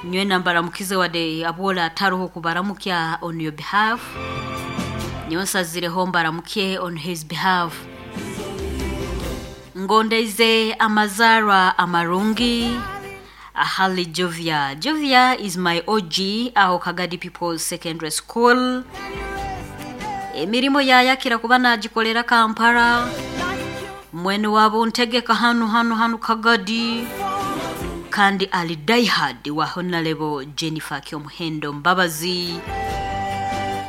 Nywena mbaramukize wadde abwola ataroho kubaramukya on your behalf. Nyonsazireho mbaramukye on his behalf. Ngondeize amazarwa amarungi ahali Jovia. Jovia is my OG aho Kagadi People's Secondary School. Emirimo yayakira kuba nagikolera Kampala. Mwene wabo ntegeka hanu hanu hanu Kagadi kandi ali diehard wa Honorable Jennifer Kyomuhendo Mbabazi.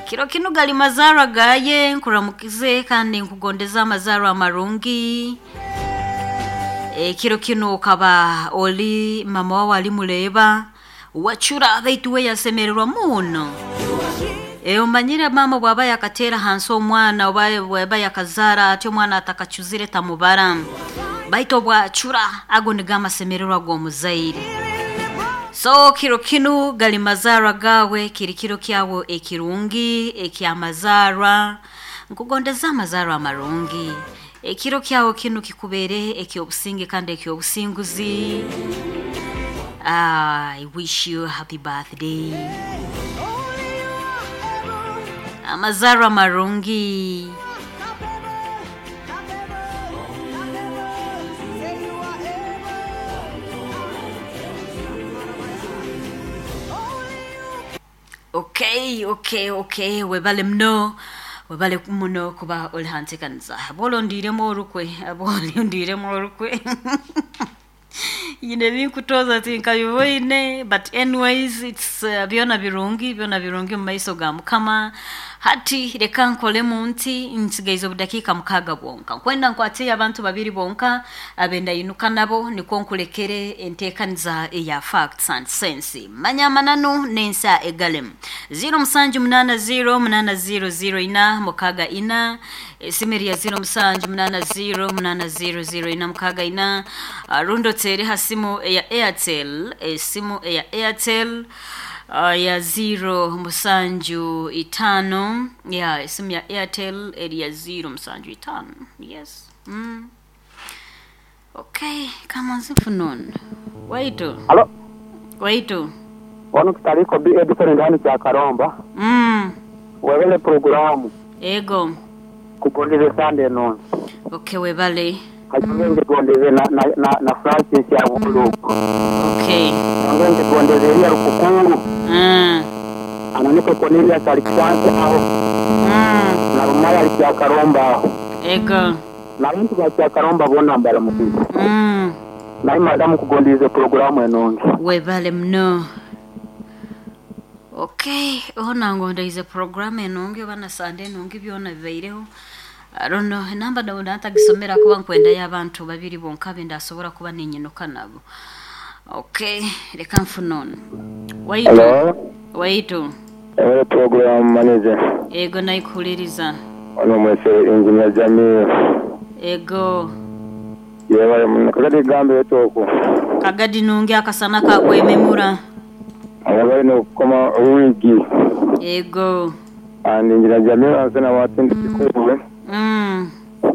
Kiro kinu gali mazarwa gaye nkuramukize kandi nkugondeza amazarwa amarungi. Kiro kinu okaba oli mama wawe ali muleba wachura baitu we yasemererwa muno. Omanyire mama bwaba yakatera hansi omwana oba bwaba yakazara ati omwana atakachuzire tamubara baitu obwachura ago nigo amasemererwa g'omuzaire. So kiro kinu gali mazarwa gawe kiri kiro kyawe ekirungi ekyamazarwa nkugondeza amazarwa amarungi. Ekiro kyawe kinu kikubere ekyobusinge kandi ekyobusinguzi. I wish you a happy birthday. Amazarwa marungi. Okay, okay, okay. Webale mno. Webale muno kuba oli hantekanisa. Bolondiremu orukwe, bolondiremu orukwe. Yine binkutoza tinkabiboine, but anyways it's byona birungi, byona birungi mu maiso ga Mukama. Hati reka nkolemu nti nsigaize obudakiika 6 bwonka. Nkwenda nkwate abantu babiri bonka abenda yinuka nabo nikwo nkulekere enteekaniza eya facts and sense. Manya amananu n'ensa egalemu. 0780 8004 64 esimeri ya 0780 8004 64 rundo tere hasimu eya Airtel, esimu eya Airtel ya 075 ya esimu ya Airtel eri ya 075. Yes. Okay, kama nzifunon. Waitu. Halo. Waitu. Wano kitaliko bi Edison ndani cha Karomba. Webele programu. Ego. Kugondeze Sunday noon. Okay, webale. Kachenge gondeze na Francis ya Buluku. Okay. Ngende gondeze ya Rukukuru. Ananiko Cornelius Alexander aho. Na Rumaya ya Karomba aho. Ego. Na bantu ba kya Karomba bona mbara mukizi. Na madamu kugondeze programu enonge. Webale mno. Okay, ona ngondeze programu enonge bana Sunday enonge byona bibaireho. I don't know, enamba ndabona ntagisomera kuba nkwenda y'abantu babiri bonka bendasobora kuba ninyinuka nabo. Okay, reka mfunone. Waitu. Hello. Waitu. Ewe program manager. Ego naikuliriza. Ono mwese engineer Jamil. Ego. Yewe mnakagadi gambe etoko. Kagadi nungi akasana kakwememura. Abali no koma wigi. Ego. And engineer Jamil asena watindi kikuwe.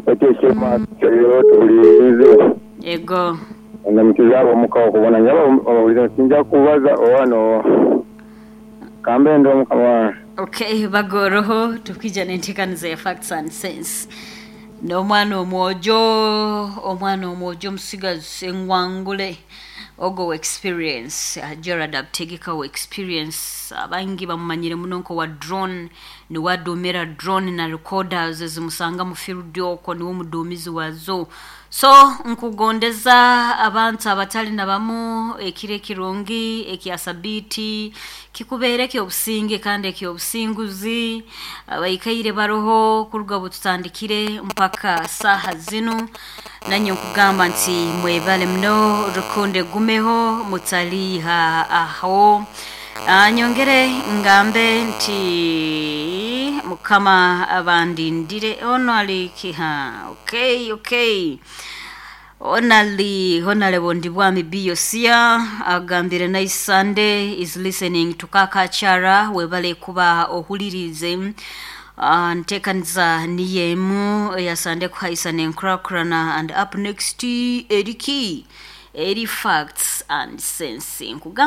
Ekyo kyema kyero tulize. Ego. Ndamukizabo mukawo kubona njaba obulize sinja kubaza owano. Kambe ndo mukama. Okay, bagoroho tukija nentekaniza ya facts and sense. N'omwana omwojo, omwana omwojo omusigazi engwangule ogo experience, Gerard Abutegeka we experience abangi bamumanyire muno nko wa drone, ni wadumira drone na recorders zimusanga mu field okwo niwe mudumizi wazo. So nkugondeza abantu abatali na bamu ekire kirungi ekyasabiti kikubeere ekyobusinge kandi ekyobusinguzi abaikaire baroho kuruga bututandikire mpaka saha zinu. Nanyo nkugamba nti mwebale mno rukunde gumeho mutaliha aho. Nyongere ngambe nti Mukama abandindire ono alikiha. Okay, okay. Onali Honorable Ndibwami Biyosia agambire nice Sunday is listening to Kakachara webale kuba ohulirize. Ntekanza niyemu ya Sunday kuhaisa nenkrakrana and up next eriki eri facts and sense. Nkugamba